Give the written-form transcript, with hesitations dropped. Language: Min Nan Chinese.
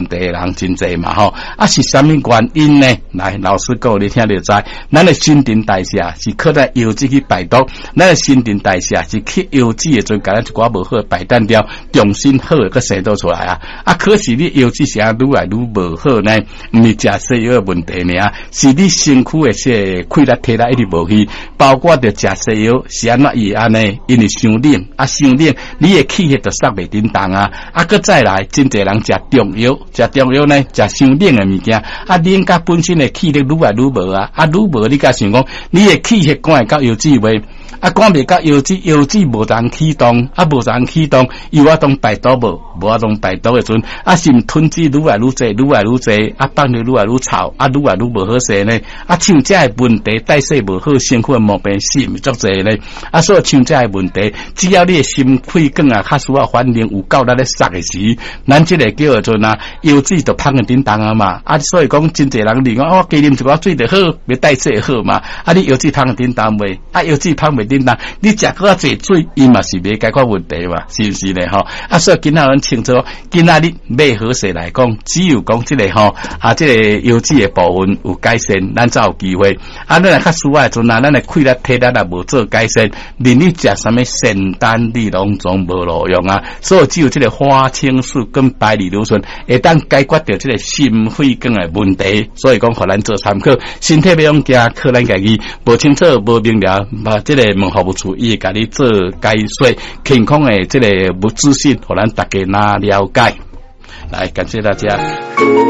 題的人真濟嘛吼。啊，是啥物原因呢？來，老師講你聽就知。咱的新陳代謝是靠在油脂去排毒，咱的新陳代謝是去油脂的陣，共咱一寡無好的排淡掉，重新好的閣生倒出來啊。啊，可是你油脂是按愈來愈無好呢？毋是食西藥的問題爾，是你身軀的這個氣力體力一直無去，包括著食西藥是按怎伊會按呢？因為傷冷啊，傷冷，你的氣血就塞袂振動啊。啊，閣再來，真濟人食中藥，食中藥呢，食傷冷的物件，啊，冷甲本身的氣力愈來愈無啊，啊，愈無你敢想講，你的氣血趕會到腰子未？啊，趕袂到腰子，腰子無通啟動，啊，無通啟動，有法當排毒無？無法當排毒的陣，啊，是毋吞脂愈來愈濟，愈來愈濟，啊，放尿愈來愈臭，啊，愈來愈無好勢呢？啊，像這个問題，代謝無好，身軀的毛病是毋是足濟呢？啊，所以像這个問題，只要你的心血管啊，較需要反應有夠力咧塞的時，咱這個叫做啊，腰子就芳佇振動啊嘛。啊，所以講真濟人認為，我加啉一寡水就好，欲代謝好嘛。啊，你腰子芳佇振動未？啊，腰子芳袂振動，你食閣較濟水，伊嘛是袂解決問題嘛，是毋是呢？吼，啊，所以今仔咱清楚，今仔日買好勢來講，只有講這個吼，啊，這個腰子的部分有改善，咱才有機會。啊，咱若較需要的陣啊，咱的氣力體力若無做改善，連你食啥物仙丹，你攏總無路用啊。所以只有這個花青素跟白藜蘆醇會當解決著這個心血管的問題。所以講，予咱做參考，身體欲用驚，靠咱家己無清楚、無明了，把這個問服務處伊會共你做解說，健康的這個無資訊，予咱大家來了解。來，感謝大家。